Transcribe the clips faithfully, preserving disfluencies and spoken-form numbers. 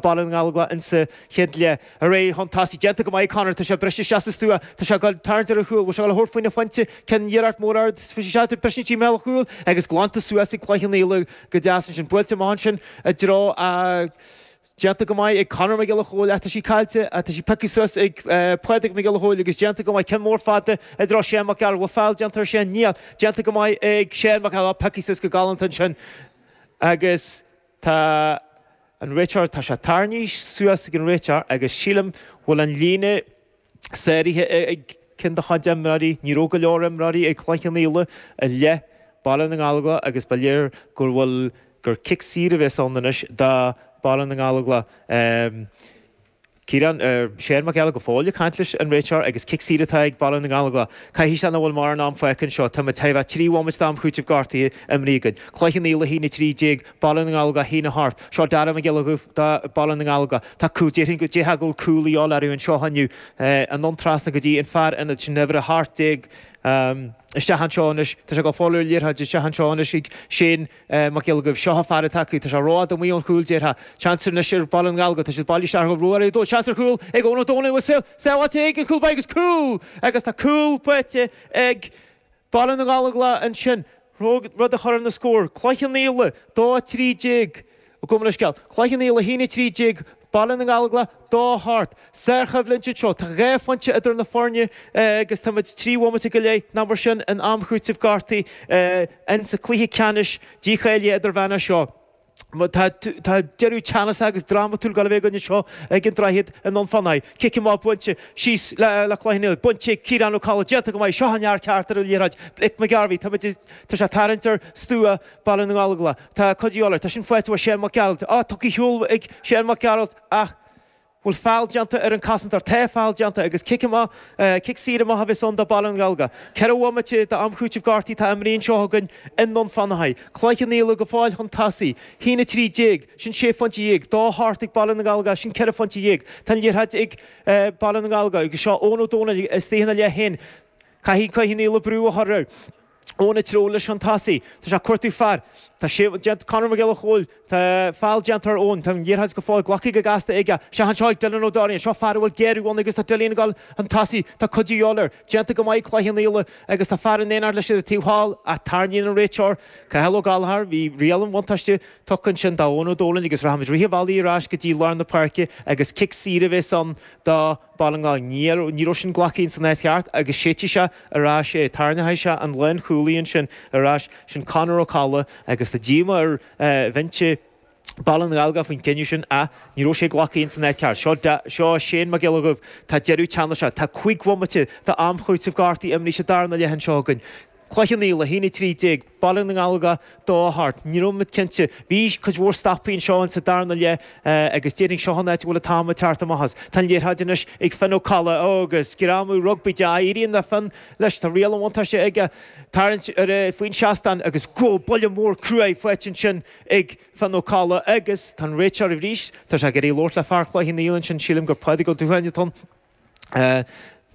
Baile na nGallóglach insa chéad leath. Ar aghaidh chun tosaigh, déanta go maith Conor, tá sé briste isteach sa stua, tá sé ag dul tarraingt ar a chúl, bhfuil sé ag dul a thabhairt faoina phointe, ceann iarracht mór ard, bhí sé isteach briste i mbéal an chúil agus glanta suas ag Cloich Cheann Fhaola go deas ansin, buailte amach ansin i dtreo a déanta go maith ag Conor Mac Giolla Chóill ach tá sí caillte, tá sí pioctha suas ag Pádraig Mac Giolla Chóill agus déanta go maith, ceann mór fada i dtreo Shane Mac Gearailt, bhfuil feall déanta ar Shane? Níl, déanta go maith ag Shane Mac Gearailt, pioctha suas go galánta ansin agus tá an réiteoir, tá sé tarraingthe suas ag an réiteoir agus sílim bhfuil an líne sáraithe ag ceann dá chuid imreoirí. Ní raibh go leor imreoirí ag Cloich Cheann Fhaola i leith Baile na nGallóglach agus ba léir gur bhfuil gur cic saor a bheas ann anois do Baile na nGallóglach. Ciarán, Shane Mac Gearailt go fóill ag caint leis an réiteoir agus cic saor atá ag Baile na nGallóglach. Caithfidh sé nach bhfuil mórán am fágtha anseo. Tá muid chóir a bheith trí bhomaite d'am chúitimh gortaithe imrithe againn. Cloich Cheann Fhaola a haon a trí déag, Baile na nGallóglach a haon a hocht. Seo Dara Mac Giolla Dhuibh do Baile na nGallóglach. Tá cúl, déarfainn go déarfá go bhfuil cúl a dhíobháil orthu anseo inniu. Anonn trasna go dtí an fear ionaid sin uimhir a hocht déag. Isteach anseo anois, tá sé ag fáil ar liathróid isteach anseo anois ag Shane Mac Giolla Dhuibh. Seo an fear atá acu, tá sé rófhada amuigh ón chúl, déarfá. Seans anois ar Baile na nGallóglach, tá siad bailithe isteach go Ruairí Ó Dónaill, seans ar chúl ag Eoin Ó Dónaill, bhfuil sábháilte ag an chúl báire agus cúl! Agus tá cúl faighte ag Baile na nGallóglach ansin, rud a chuireann an scór, Cloich Cheann Fhaola, dó a trí déag. Gabh mo leithscéal. Cloich Cheann Fhaola a haon a trí déag, Baile na nGallóglach, dó a hocht. Sárchoimhlint anseo. Tá dhá phointe idir na foirne agus táimid trí bhomaite go leith, nach mar sin, in am chúitimh gortaithe insa chluiche ceannais dícháilithe idirmheánach seo. Tá deireadh teannasach agus drámatúil ag dul a bheith againn anseo ag an Droichead i nDún Fionnachaidh. Cic amach buailte síos le Cloich Cheann Fhaola. Bainte ag Ciarán Ó Cadhla. Déanta go maith. Seo an fhear ceart ar an liathróid. Blake McGarvey. Tá sé ag tarraingt ar stua Baile na nGallóglach. Tá cuid de dhíobháil air. Tá sin faighte uaidh Shane Mac Gearailt. Á, tugtha ar shiúl ag Shane Mac Gearailt ach bhfuil feall déanta ar an cosantóir. Tá feall déanta agus cic amach, cic saor amach a bheas ann do Baile na nGallóglach. Ceithre bhomaite d'am chúitimh gortaithe atá imrithe anseo againn i nDún Fionnachaidh. Cloich Cheann Fhaola go fóill chun tosaigh. Haon a trí déag, sin sé phointe dhéag. Dó a hocht ag Baile na nGallóglach, sin ceithre phointe dhéag. Tá an liathróid ag Baile na nGallóglach agus seo Eoin Ó Dónaill istigh ina leith féin. Caithfidh Cloich Cheann Fhaola brú a chur air. Eoin ag treabhadh leis chun tosaigh. Tá sé ag cuartú fear. Tá sé déanta Conor Mac Giolla Chóill. Tá feall déanta ar Eoin. Tá an liathróid go fóill glactha go gasta aige. Isteach anseo ag Dylan Ó Dairín. Seo fear a bhfuil géarú ann agus tá Dylan ag dul chun tosaigh. Tá cuid de dhíobháil air. Déanta go maith ag Cloich Cheann Fhaola agus tá fear in éineacht leis ar an taobh thall ach tarraingíonn an réiteoir Cathal Ó Gallchóir. Bhí riail an bhuntáiste tugtha ansin d'Eoin Ó Dónaill agus rachaimid rith an bhealaigh ar ais go dtí lár na páirce agus cic saor a bheas ann do Baile na nGall. Ní raibh sin glactha ins an áit cheart agus séidfidh sé ar ais é. Tarraingeoidh sé an lánchúlaí ansin ar ais, sin Conor Ó Cadhla agus tá díomá ar bhinse Baile na nGallóglach faoin gcinneadh sin ach ní raibh sé glactha ins an áit cheart. Seo seo Shane Mac Giolla Dhuibh. Tá deireadh teannasach. Tá cúig bhomaite d'am chúitimh gortaithe imrithe sa darna leath anseo againn. Cloich Cheann Fhaola, a haon a trí déag, Baile na nGallóglach, dó a hocht. Ní raibh muid cinnte. Bhí cuid mhór stopaí anseo in sa darna leath agus déarfainn seo an áit a bhfuil an t-am ag teacht amach as. Tá an liathróid anois ag Finn Ó Cadhla agus greamú rugbaí de. Éiríonn le Finn leis. Tá riail an bhuntáiste aige tarraingt ar faoin seastán agus go buille mór cruaidh faighte ansin ag Finn Ó Cadhla agus tá an réiteoir arís. Tá sé ag iarraidh labhairt le fear Chloich Cheann Fhaola ansin. Sílim gur Pádraig Ó Dúsháin atá ann.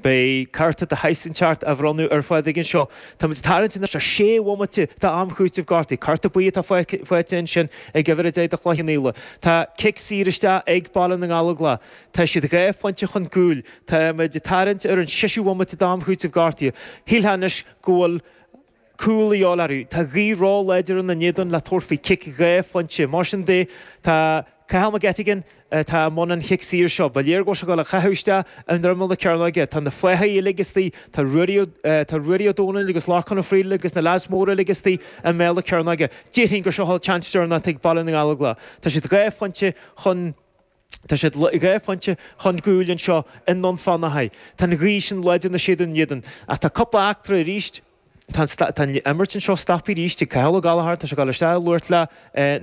Beidh cárta de shaghas inteacht á bhronnadh ar Phádraig anseo. Táimid ag tarraingt anois ar sé bhomaite d'am chúitimh gortaithe. Cárta buí atá faighte ansin ag uimhir a deich do Chloich Cheann Fhaola. Tá cic saor isteach ag Baile na nGallóglach. Tá siad dhá phointe chun cúil. Táimid ag tarraingt ar an seisiú bomaite d'am chúitimh gortaithe. Shílfeá anois go bhfuil cúl a dhíobháil orthu. Tá gaoth ró-láidir ina n-éadan le tabhairt faoi chic dhá phointe. Mar sin de, tá Cathal McGettigan atá i mbun an chic saor seo. Ba léir go bhfuil sé ag dul a chaitheamh isteach i ndroimeann na cearnóige. Tá na fáithe uilig istigh, tá Ruairí tá Ruairí Ó Dónaill agus Lorcán Ó Frighil agus na leaids móra uilig istigh i mbéal na cearnóige. Déarfainn gur seo an tseans deireanach atá ag Baile na nGallóglach. Tá siad dhá phointe chun Tá siad dhá phointe chun cúil anseo i nDún Fionnachaidh. Tá an ghaoth sin láidir ina séideadh ina n-éadan. Ach tá cúpla eachtra arís. Tá an imirt anseo stoptha arís ag Cathal Ó Gallchóir. Tá sé ag dul isteach ag labhairt le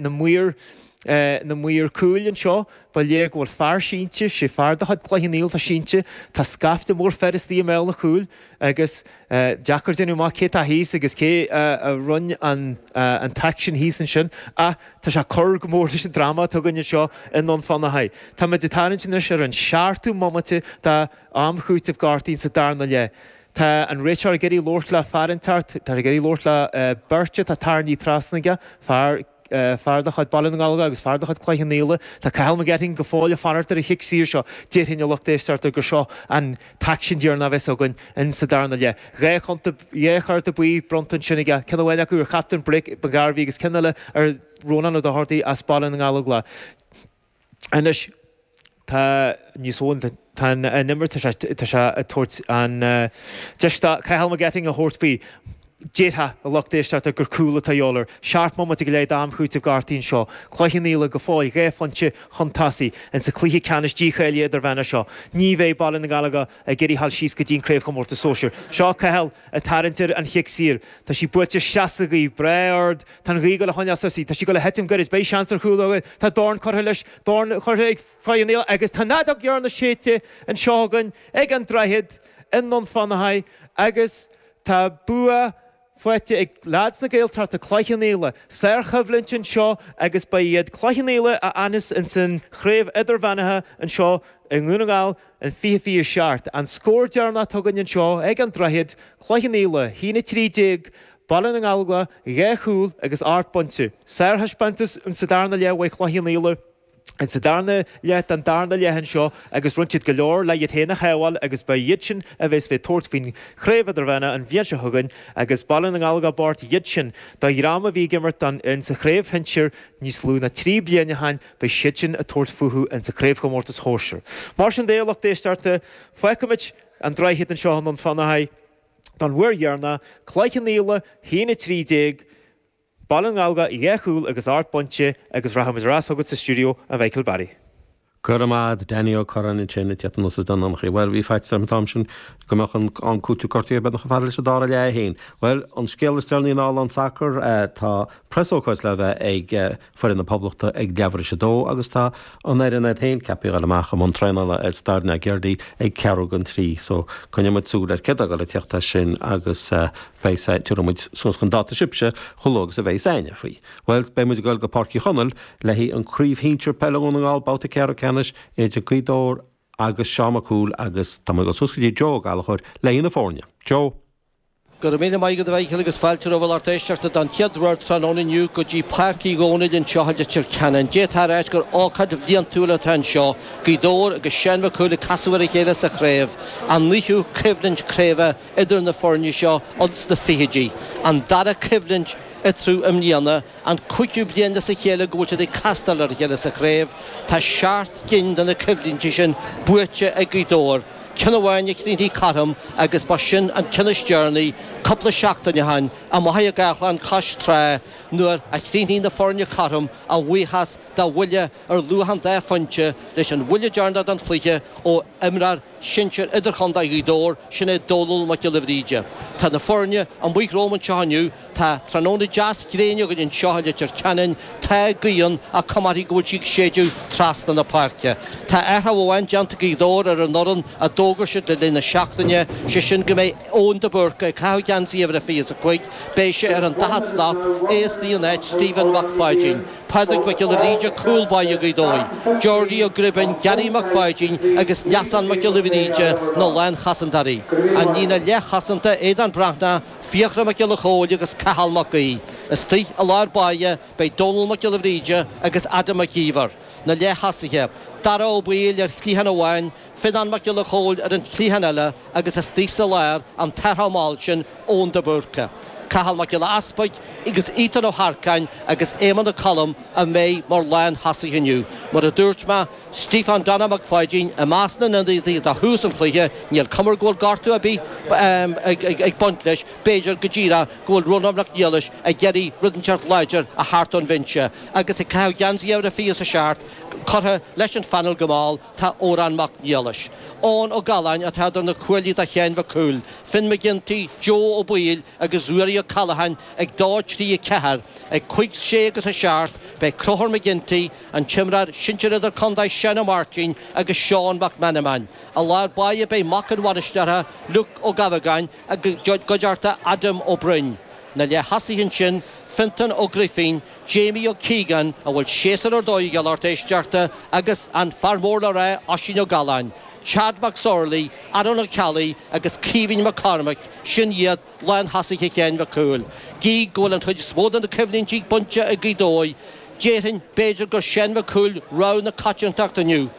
na maoir na maoir cúil anseo. Ba léir go bhfuil fear sínte, sé fear de chuid Chloich Cheann Fhaola atá sínte. Tá scaifte mór fir istigh i mbéal an chúil agus deacair déanamh amach cé atá thíos agus cé a rinne an an t-aicsean thíos ansin. Ach tá sé ag cur go mór leis an dráma atá againn anseo i nDún Fionnachaidh. Táimid ag tarraingt anois ar an seachtú bomaite d'am chúitimh gortaithe sa darna leath. Tá an réiteoir ag iarraidh labhairt le fear inteacht, tá sé ag iarraidh labhairt le beirt atá tarraingthe trasna aige, fear fear de chuid Baile na nGallóglach agus fear de chuid Cloich Cheann Fhaola. Tá Cathal McGetting go fóill ag fanacht ar an chic saor seo. Déarfainn a lucht éisteachta gur seo an t-aicsean deireanach a bheas againn in sa darna leath. Dhá chonta, dhá chárta buí bronnta ansin aige, ceann amháin acu ar chaptaen Brick McGarvey agus ceann eile ar Rónán Ó Dochartaigh as Baile na nGallóglach. Anois tá níos mó tá an imirt tá sé tá sé ag tabhairt an deis do Cathal McGetting a thabhairt faoi. Déarfá, a lucht éisteachta, gur cúl atá a dhíobháil air. Seacht mbomaite go leith d'am chúitimh gortaithe anseo. Cloich Cheann Fhaola go fóill dhá phointe chun tosaigh insa chluiche ceannais dícháilithe idirmheánach seo. Ní bheidh Baile na nGallóglach ag iarraidh a ghabháil síos go dtí an craobhchomórtas sóisir. Seo Cathal ag tarraingt ar an chic saor. Tá sí buailte isteach sa ghaoth. Breá ard. Tá an ghaoth ag dul a choinneáil suas í. Tá sí ag dul a thitim gairid. Beidh seans ar chúl againn. Tá dorn curtha leis. Dorn curtha ag Cloich Cheann Fhaola agus tá an fheadóg dheireanach séidte anseo againn ag an Droichead i nDún Fionnachaidh agus tá bua faighte ag leaids na Gaeltachta, Cloich Cheann Fhaola. Sárchoimhlint anseo agus ba iad Cloich Cheann Fhaola a fhanfas ins an chraobh idirmheánaithe anseo i nDún na nGall in fiche fiche a seacht. An scór deireanach atá againn anseo ag an Droichead, Cloich Cheann Fhaola, a haon a trí déag, Baile na nGallóglach, dhá chúl agus ocht bpointe. Sárthaispeántas insa darna leath uaidh Chloich Cheann Fhaola. Insa darna leath den darna leath anseo agus rinne siad go leor le iad féin a shábháil agus ba iad sin a bheas ag tabhairt faoin chraobh idirmheánach an bhliain seo chugainn agus Baile na nGallóglach bocht iad sin do dhream a bhí ag imirt don insa chraobh shinsir níos lú ná trí bliana ó shin beidh siad sin ag tabhairt fúthu insa chraobhchomórtas shóisir. Mar sin de a lucht éisteachta fágfaimid an droichead anseo i nDún Fionnachaidh don uair dheireanach, Cloich Cheann Fhaola, haon a trí déag, Baile na nGallóglach, dhá chúl agus ocht bpointe agus rachaimid ar ais chugat sa stiúideo, a Mhichael Barry. Go raibh maith agat, Danny Ó Curráin ansin ag teacht anuas as Dún Fionnachaidh. Bhuel, bhí faitíos orm an t-am sin go mbeadh an am cúitimh gortaithe beagnach chomh fada leis an dara leath é féin. Bhuel, an scéal is deireanaí i ndála an tsacair, tá preasócáid le bheith ag foireann na Poblachta ag leathuair tar éis a dó agus tá an fhoireann iad féin ceaptha a dhul amach i mbun traenála ar Staid na gCeardaí ag ceathrú don trí. So, coinneoidh muid súil ar céard atá ag dul ag teacht as sin agus beidh sé, tabharfaidh muid suas chun dáta sibhse chomh luath agus a bheidh aithne faoi. Bhuel, beidh muid ag dul go Páirc Uí Chonaill le haghaidh an Craobh Shinsir Peile Dhún na nGall, babhta ceathrú ceannais idir Gaoth Dobhair agus Seán Mac Cumhaill agus tá muid ag dul suas go dtí Joe Ó Gallchóir le haghaidh na foirne. Joe. Go raibh míle maith agat a Mhichíl agus fáilte romhaibh a lucht éisteachta don chéad uair tráthnóna inniu go dtí Páirc Uí Dhónaill anseo i Leitir Ceanainn. D'fhéadfá a ráit gur ócáid bhliantúil atá anseo, Gaoth Dobhair agus Seán Mac Cumhaill ag casadh ar a chéile sa chraobh, an naoú coimhlint craoibhe idir na foirne seo ins na fichidí, an dara coimhlint eatarthu i mbliana, an cúigiú bliain as a chéile go bhfuil siad ag castáil ar a chéile sa chraobh. Tá seacht gcinn de na coimhlintí sin buaite ag Gaoth Dobhair, ceann amháin a chríochnaigh cothrom agus ba sin an ceann is deireanaí cúpla seachtain ó shin, amuigh i gCaisleán Cois Trá nuair a chríochnaigh na foirne cothrom a bhuíochas do bhuille ar luach an dá phointe leis an bhuille deireanach den chluiche ó imreoir sinsir idirchontae Ghaoth Dobhair, sin é Dónal Mac Giolla Bhríde. Tá na foirne amuigh romham anseo inniu. Tá tráthnóna deas gréine againn anseo i Leitir Ceanainn. Tá gaoth ann ach cuma uirthi go bhfuil sí ag séideadh trasna na páirce. Tá athrú amháin déanta ag Gaoth Dobhair ar an fhoireann a d'fhógair siad le linn na seachtaine, sé sin go mbeidh Eoin de Búrca ag caitheamh geansaí uimhir a fiche is a cúig. Beidh sé ar an daichead slat, é istigh in áit Stephen Mac Pháidín. Pádraig Mac Giolla Bhríde, cúl báire Ghaoth Dobhair, Geordie Ó Gribín, Gary Mac Pháidín agus Neasán Mac Giolla Bhríde na lánchosantóirí. An líne leathchosanta, Aodán Breathnach, Fiachra Mac Giolla Chóill agus Cathal Mac Aoidh. Istigh i lár báire beidh Dónal Mac Giolla Bhríde agus Adam Mac Íomhair. Na leath-thosaithe, Dara Ó Baoill ar chliathán amháin, Fionán Mac Giolla Chóill ar an chliathán eile agus istigh sa lár an t-athraitheach mall sin, Eoin de Búrca. Cathal Mac Giolla Easpaig agus Ethan Ó hEarcáin agus Éamonn Ó Colm a mbeidh mar lán-thosaithe inniu. Mar a dúirt mé, Stiofán Donna Mac Pháidín i measc na n-ionadaithe do thús an chluiche, níl cuma air go bhfuil gortú ar bith ag baint leis, b'fhéidir go díreach go bhfuil Rónán Mac Niallais ag iarraidh rud inteacht láidir a theacht ón bhinse agus ag caitheamh geansaí uimhir a fiche is a seacht curtha leis an phainéal go mall tá Odhrán Mac Niallais. Eoin Ó Galláin atá idir na cuaillí do Sheán Mhic Cumhaill, Finn McGinty, Joe Ó Baoill agus Ruairí Ó Callacháin ag dó, trí, a ceathair. Ag cúig, sé agus a seacht beidh Conchúr McGinty, an t-imreoir sinsir idirchontae Seán Ó Máirtín agus Seán Mac Meanman. I lár báire beidh mac an bhainisteora, Luke Ó Gabhagáin i gcuideachta Adam Ó Broin. Na leath-thosaithe ansin, Fionntán Ó Grifín, Jamie Ó Cíogáin, a bhfuil séasúr ar dóigh aige a lucht éisteachta, agus an fear mór le rá, Oisín Ó Galláin. Chad McSorley, Aaron Ó Ceallaigh agus Caoimhín McCormack, sin iad lánthosaithe Sheáin Mhic Cumhaill. Gídh go bhfuil an chuid is mó de na coimhlintí bainte ag Gaoth Dobhair, déarfainn b'fhéidir gur Seán Mac Cumhaill rogha na coitiantachta inniu.